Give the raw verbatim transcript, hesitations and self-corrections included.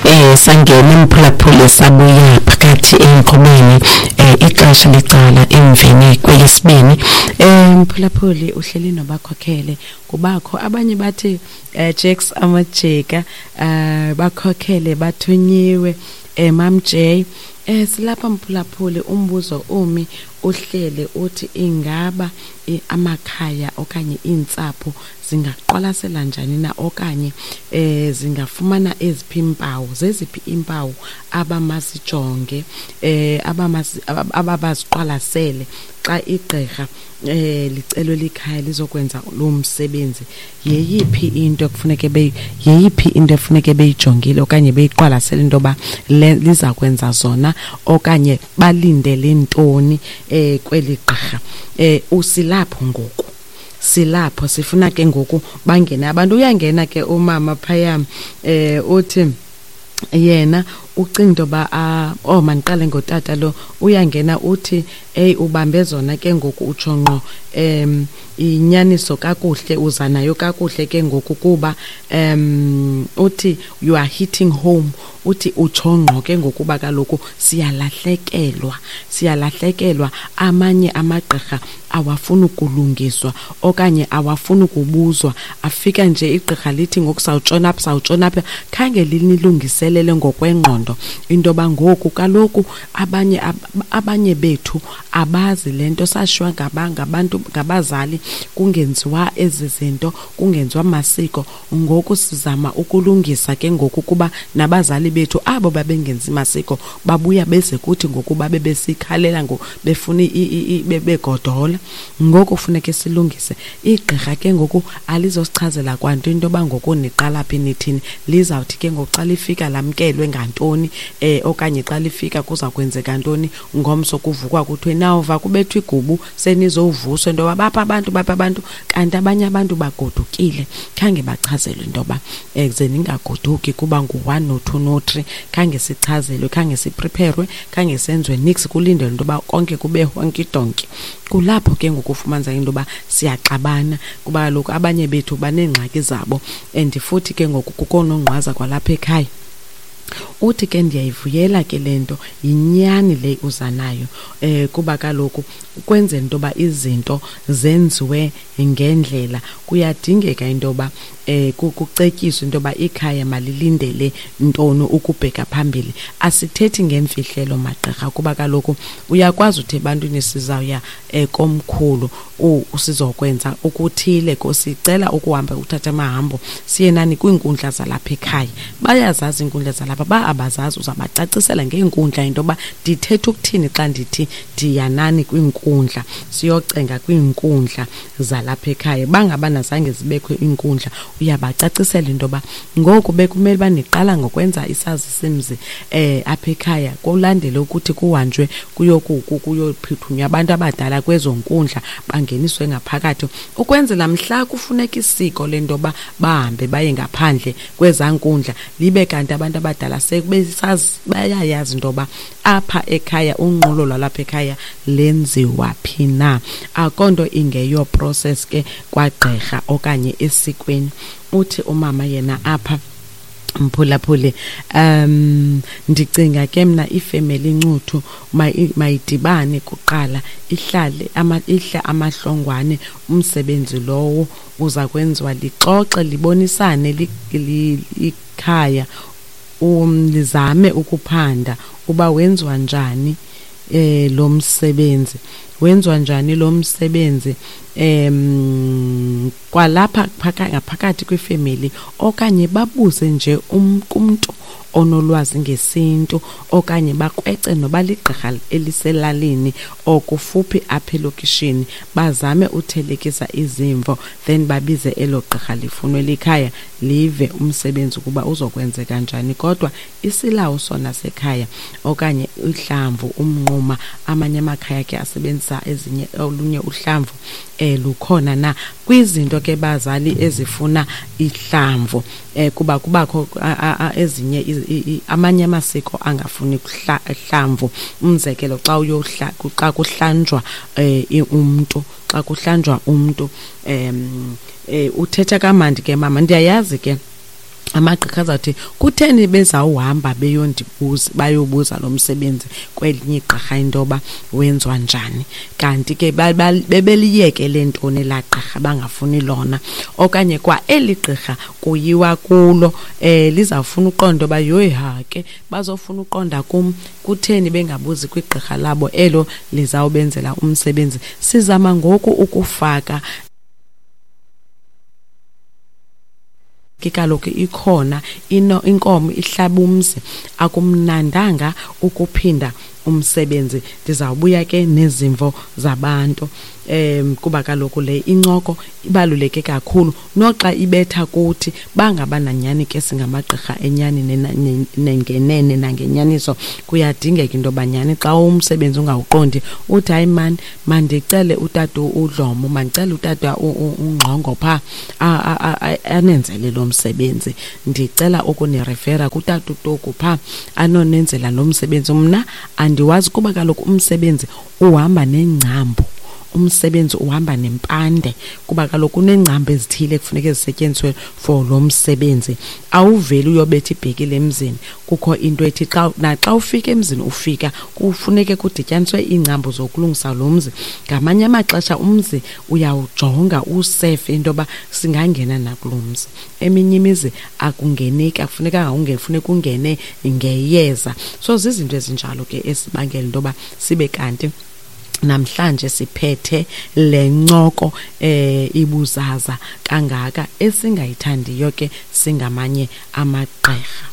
Eh sangena emphulaphuli, sabuya phakathi enkqubeni, eh ixesha licala emveni kwelesibini. Eh mphulaphuli, uhleli nobakhokhele, kubakho abanye bathi eh Jacks amajeka, eh bakhokhele bathunyiwe, eh Mam J. Eh silapha mphulaphuli, umbuzo umi uhlele uthi ingaba amakhaya okanye iintsapho zingaqwalasela njani na, okanye eh zingafumana eziphi impawu, zeziphi impawu abamazijonge, eh abamazi ababaziqwalasele xa igqirha eh licelwe likhaya lizokwenza lo msebenzi. Yeyiphi into ekufuneke be yeyiphi into efuneke beyijongile okanye beyiqwalasele into yoba liza kwenza zona, okanye balindele ntoni eh kweli gqirha? eh usilapho ngoku, silapho sifuna ke ngoku bangene abantu. Uyangena ke umama phaya, eh uthi yena ucinga into yoba, oh mandiqale ngotata lo. Uyangena uthi hey, ubambe zona ke ngoku, utsho ngqo em inyaniso kakuhle, uza nayo kakuhle ke ngoku, kuba um uthi you are hitting home. Uthi utsho ngqo ke ngokuba kaloku siyalahlekelwa, siyalahlekelwa. Amanye amagqirha awafuni ukulungiswa okanye awafuni ukubuzwa, afika nje igqirha lithi ngoku sawutshona apha, sawutshona apha, khange linilungiselele ngokwengqondo into yoba ngoku kaloku abanye abanye bethu abazi le nto, sashiywa ngabantu, ngabazali, kungenziwa ezi zinto, kungenziwa masiko. Ngoku sizama ukulungisa ke ngoku, kuba nabazali bethu abo babengenzi masiko babuya beze kuthi ngoku babe besikhalela ngo befuna begodola. Ngoku funeke silungise. Igqirha ke ngoku alizosichazela kwanto into yoba ngoku niqala phi, nithini. Lizawuthi ke ngoku xa lifika lamkelwe ngantoni, eh okanye xa lifika kuza kwenzeka ntoni ngomso, kuvukwa kuthiwe nawuva kubethwa igubu, senizovuswa into yoba bapha abantu, bapha abantu, kanti abanye abantu bagodukile, khange bachazelwe into yoba eh ze ningagoduki kuba ngu-one no-two no-three. Khange sichazelwe, khange siprepherwe, khange senziwe nix, kulindelwe into yoba konke kube honky donky. Kulapho ke ngoku ufumanisa into yoba siyaxabana, kuba kaloku abanye bethu baneengxaki zabo, and futhi ke ngoku kukho nongqwaza kwalapha ekhaya. Uthi ke ndiyayivuyela ke le nto, yinyani le uza nayo, eh kuba kaloku ukwenzela into yoba izinto zenziwe ngendlela kuyadingeka into yoba eh kucetyiswe into yoba ikhaya malilindele ntoni ukubheka phambili. Asithethi ngemfihlelo magqirha, kuba kaloku uyakwazi uthi ebantwini sizawuya eh komkhulu, sizokwenza okuthile, sicela ukuhamba uthatha amahambo siye nani kwiinkundla zalapha ekhaya. Bayazazi iinkundla zalapha, ba abazazi uzabacacisela ngeenkundla into yoba ndithetha ukuthini xa ndithi ndiyanani kwiinkundla, siyocenga kwiinkundla zalapha ekhaya. Bangabana zange zibekho iinkundla, uyabacacisela into yoba ngoku bekumele uba niqala ngokwenza isazisimzi eh apha ekhaya, kulandele ukuthi kuhanjwe kuyophuthunywa abantu abadala kwezo nkundla bangeniswe ngaphakathi, ukwenzela mhla kufuneka isiko lento yoba bahambe baye ngaphandle kwezaa nkundla, libe kanti abantu abadala sebesazi, bayayazi into yoba apha ekhaya unqulo lwalapha ekhaya lenziwa phi na. Akho nto ingeyo process ke kwagqirha okanye esikweni. Uthi umama yena apha, mphulaphuli, um ndicinga ke mna ifemeli Ncuthu mayidibane kuqala, ihlale ama, ihle amahlongwane, umsebenzi lowo uza kwenziwa, lixoxe libonisane ikhaya, um lizame ukuphanda uba wenziwa njani eh lo msebenzi, wenziwa njani lo msebenzi em kwalapha ngaphakathi kwifemeli, okanye babuze nje kumntu onolwazi ngesintu, okanye bakrwece noba ligqirha eliselalini okufuphi apha elokishini, bazame uthelekisa izimvo, then babize elo gqirha lifunwe likhaya live umsebenzi ukuba uzokwenzeka njani. Kodwa isilawu sona sekhaya okanye uhlamvu umnquma, amanye amakhaya ke asebenzisa ezinye olunye uhlamvu, eh lukhona na kwizinto ke bazali ezifuna ihlamvu, eh kuba kubakho ezinye amanye amasiko angafuni hlamvu. Umzekelo xa uyohla xa kuhlanjwa eh umntu, xa kuhlanjwa umntu em uthetha kamandi ke mama, ndiyayazi ke Amagqirha azawuthi kutheni bezawuhamba beyondibuza, bayobuza lo msebenzi kwelinye igqirha into yoba wenziwa njani, kanti ke bebeliyekele ntoni elaa gqirha bangafuni lona, okanye kwa eli gqirha kuyiwa kulo um lizawufuna uqonda uba yoyi ha ke bazofuna uqonda kum, kutheni bengabuzi kwigqirha labo elo lizawubenzela umsebenzi. Sizama ngoku ukufaka ke kaloku ikhona ino inkomo ihlaba umzi, akumnandanga ukuphinda umsebenzi. Ndizawubuya ke nezimvo zabantu um kuba kaloku le incoko ibaluleke kakhulu, noxa ibetha kuthi bangabananyani ke singamagqirha enyani nengenene nangenyaniso. Kuyadingeka into yoba nyani xa umsebenzi ungawuqondi uthi hayi mani, mandicele utata uDlomo, mandicele utata uNgxongo phaa anenzele lo msebenzi, ndicela ukunirefera kutata uToku phaa anonenzela lo msebenzi. Mna andiwazi kuba kaloku umsebenzi uhamba nengcambu, umsebenzi uhamba nempande, kuba kaloku kuneengcambu ezithile kufuneka zisetyenziswe for lo msebenzi. Awuveli uyobetha ibhekile emzini, kukho into ethi xa naxa ufika emzini ufika kufuneke kudityaniswe iingcambu zokulungisa lo mzi. Ngamanye amaxesha umzi uyawujonga usefe into yoba singangena nakulo mzi. Eminye imizi akungeneki, akufunekanga ungene, funeka ungene ngeyeza. So zizinto ezinjalo ke esibangela into yoba sibe kanti namhlanje siphethe le ncoko eh ibuzaza kangaka esingayithandiyo ke singamanye amagqirha.